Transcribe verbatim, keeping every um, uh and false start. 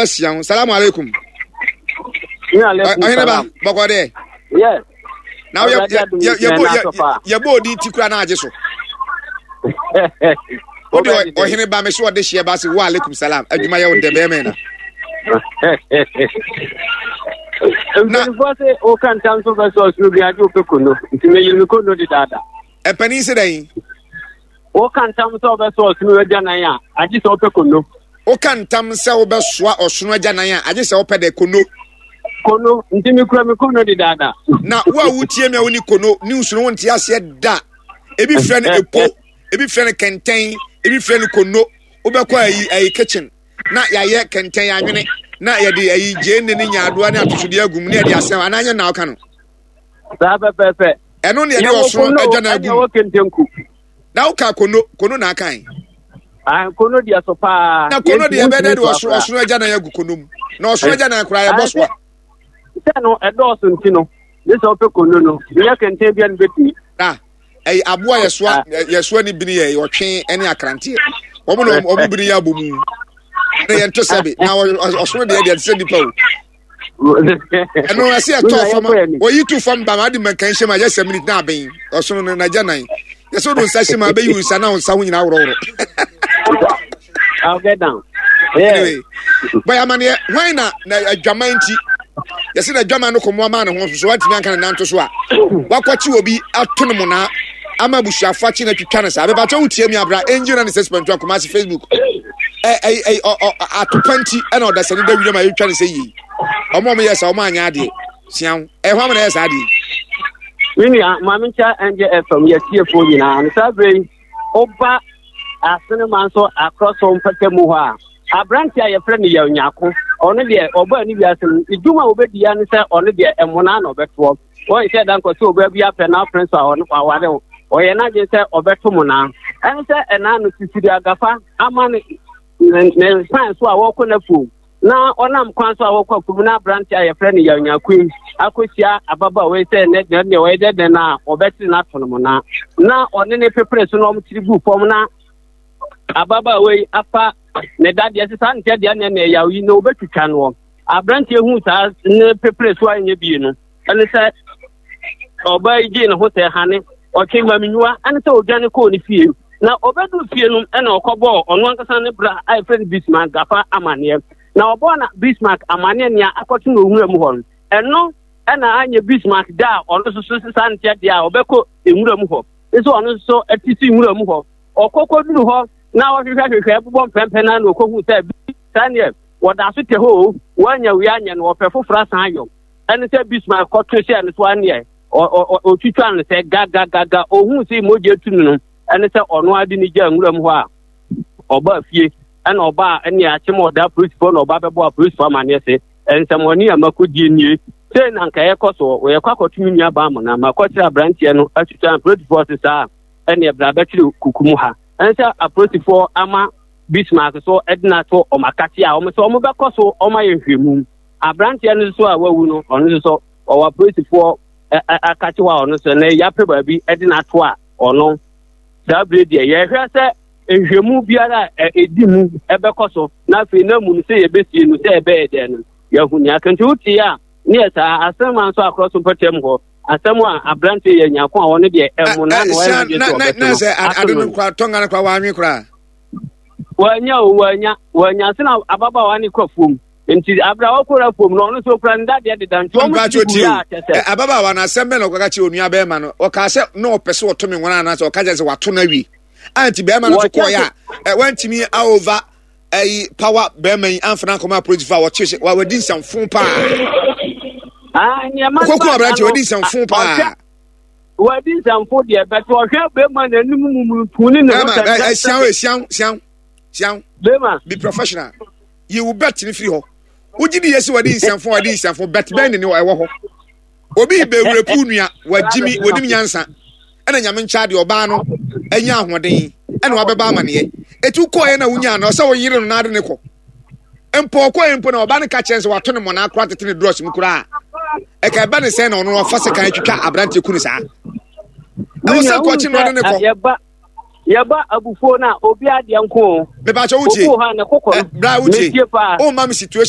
Asia ho. Salamu alaikum. Ɔhene ba, bɔkɔ deɛ. Yes. Na yɛ yɛ yɛ yɛ bɔ odi ti kura na agye so. O de ɔhene ba mi so ɔde hyɛ ba se wa alaikum salam. Adwuma yɛ o dɛ bɛrɛ mɛ na. Mpanyinfoɔ sɛ o ka ntam so bɛ sɔ ɔsoro bi agye o pɛ kono nti mɛ yiri mi kono de daadaa. Mpanyin sɛ dɛn? Woka ntam sɛ wobɛsoa ɔsono agyanan a, agye sɛ wopɛ kono. Woka ntam sɛ wobɛsoa ɔsono agyanan a, agye sɛ wopɛ dɛ kono. Kono, nti mekura me kono dedaada. Na wo a wotie me a woni kono, news no wonte aseɛ da. Ebi frɛ no epo, ebi frɛ no kɛntɛn, ebi frɛ no kono. Wobɛkɔ ayi ayi kitchen na yɛayɛ kɛntɛn anwene na yɛde ayi gyeene ne nyaadoa ne atosodeɛ agum ne yɛde asɛm anaa nyɛ na woka no. Saa pɛpɛɛpɛ. Ɛno ne yɛde ɔsono agyanan agum. Na woka kono kono na akan. Ah, kono deɛ so paa. Na kono deɛ ɛbɛyɛ dɛ de ɔsoro ɔsoro agya nan agu kono mu. Na ɔsoro agya nan koraa yɛbɔ so a. Sɛ no ɛdɔɔso nti no, ne sɛ ɔpɛ kono no, nyɛ kɛntɛn bia no bɛtumi. Na ɛyɛ aboa yɛsoa yɛsoa ne bini yɛ ɔtwe ne akranteɛ. Wɔn na wɔn bini yɛ abɔ mu. Na yɛn to sɛbi na ɔsoro deɛ deɛ te sɛ nipa o. Ɛno ɛsɛ ɛtɔ fam oyi tu fam ba ma adi mɛnkan hyɛ mu a yɛsɛ minute na aben ɔsono no n'agya nan yɛsɛ ɔdo nsa hyɛ mu a bɛyi nsa na nsa ho nyinaa worɔworɔ. I'll get down. Yeah. Anyway, bɔyɛ amaneɛ hwan na na adwaman nti yɛsɛ na adwaman no kɔmmoa maa ne ho so so wantumi anka ne nanto so a wakɔkye obi ato no monaa ama abusuafo akye na twitwa no saa bɛbɛkyɛ wotie mi abra angel na ne sɛ spɛnto akumase Facebook atopa nti ɛna ɔdasani da wiram a yɛtwa no sɛ yie ɔmo ɔmo yɛ sa ɔmo anyɛ adeɛ sia ho ɛhɔ ama na ɛyɛ saa adeɛ. Me nua maame nkyɛ ɛnjɛ fm yɛ tiefoɔ nyinaa no saa berɛ yi woba asenema nso akorɔ so mpɛtɛ mu hɔ a aberante a yɛfrɛ no yɛ nyako ɔno deɛ ɔbaa ne wiase no edwuma a wɔbɛdi ya ne sɛ ɔno deɛ ɛmona na ɔbɛtoɔ wɔnhyɛ da nkɔ sɛ ɔbaa bi apɛ na apene so a ɔno waware wo ɔyɛ n'adwene sɛ ɔbɛto mo naa ɛne sɛ ɛnaa no sisiri agafa ama ne ne kwan so a wɔkɔ n'afuom na ɔnam kwan so a wɔkɔ afuom na aberante a yɛfrɛ no yɛnyakoe akɔhyia ababaawa yi sɛ ne deɛ ɔyɛ dɛ dɛn a ɔbɛkyere no ato no mo naa na ɔne ne pepere so na ɔmkyere gu fam na ababaawa yi afa ne dadeɛ sɛ saa nkyɛ deɛ ne na ɛyaw yi na ɔbɛtwitwa noɔ. Aberanteɛ hu saa ne pepere so a ɛnyɛ bie no ɛne sɛ ɔbaa yi gyee ne ho sɛ hane ɔtwe mamenyiwa ɛne sɛ ɔdwane kɔɔ ne fie na ɔbɛduru fie no ɛna ɔkɔbɔɔ ɔno ankasa ne bra a yɛfrɛ no Bismarck Gafa amanneɛ na ɔbɔɔ na Bismarck amanneɛ nea akɔto no owura mu hɔ no ɛno ɛna anyɛ Bismarck da a ɔno nso so saa nteɛ deɛ a ɔbɛkɔ nwura mu hɔ nso ɔno nso ɛte si nwura mu hɔ ɔkɔkɔduru hɔ na ɔhwehwɛhwehwɛ bobɔ mpɛmpɛ na na ɔkɔhu sɛ saa neɛ wɔda so te hɔ o wɔanya wei anyɛ no wɔpɛ foforɔ asan ayɔ ɛne sɛ Bismarck kɔto hyɛɛ no so aneɛ ɔtwitwa no sɛ gagagaga ohuu sɛ mogya tu no no ɛne sɛ ɔno ade ne gya nwura mu hɔ a ɔbaa fie ɛna ɔbaa ɛne akyem ɔda apolisifoɔ na ɔba bɛbɔ apolisifoɔ amanneɛ se nsɛmɔne a makɔdie nie sei na nka yɛkɔ so yɛkɔ akɔto me nua baa mo na makɔkyerɛ aberanteɛ no atwitwa apolisifoɔ se saa ɛne ɛbra bɛkyerɛ kuku mu ha ɛne sɛ apolisifoɔ ama Bismarck so ɛde no ato ɔmo akate a ɔmo sɛ ɔmo bɛkɔ so ɔmo ayɛ nhwɛmu aberanteɛ no nso a wawu no ɔno nso so ɔwɔ apolisifoɔ akate hɔ a ɔno nso na yɛapɛ baabi ɛde no ato a ɔno saa bere deɛ yɛhwɛ sɛ nhwɛmu biara a ɛdi mu ɛbɛkɔ so na afei na mu no sɛ yɛbɛsie no sɛ ɛbɛyɛ dɛn no yɛahu nea aka nti wotie a ne yɛ saa asɛm a nso akorɔ so mpɔtam hɔ asɛm a aberanteɛ yɛ nyako a ɔno deɛ ɛmo na na ɔyɛ ne deɛ sɛ ɔbɛto no ade no koraa tɔnga no koraa wɔanwe koraa wɔanya o wɔanya wɔanya sɛ na ababaawa ne kɔ afuom nti abira wɔkɔ afuom no ɔno nso okura ne dadeɛ deda nti wɔn ti gu yɛ akyɛ sɛ. Ababaawa no asɛm bɛn na ɔkɔka kyerɛ onua bɛrima no ɔkaa sɛ na ɔpɛ sɛ ɔto me nwona anaasɛ ɔka kyerɛ sɛ wato no awie a nti bɛrima no nso kɔɔyɛ a wantumi aova ɛyi power bɛrima yi amfa no ankɔma apolisifoɔ a wɔkye sɛ wadi nsɛmfo paa ɔkɔku aberanteɛ wadi nsɛmfo paa wadi nsɛmfo deɛ bɛtɛ ɔhwɛ bɛrima n'anim mumurutu ne ne ho sɛ ɛsiaw ɛsiaw siaw siaw bɛrima be professional yi wo bet ne firi hɔ wogye di yɛ sɛ wadi nsɛmfo wadi nsɛmfo bet bɛn ne ne ɛwɔ hɔ obi bɛwura puu nua wagyimi wɔnim nyansa ɛna nyame nkyɛ adeɛ ɔbaa no anya ahoɔden ɛna wabɛba amaneɛ ɛti wokɔɛ na wonyaa no ɔsɛ woyere no na ade ne kɔ mpo ɔkɔɛ mpo na ɔbaa no ka kyerɛ sɛ wato ne mmɔnaa koraa tete ne drɔs mu koraa ɛka ɛba ne sɛn na ɔno ɔfa sekan atwitwa aberanteɛ ku no saa ɛwɔ sɛ kɔkye no ɔde ne kɔ yɛba abufuo no a obi adeɛ nko mepakyɛ wotie bra wotie womma me situation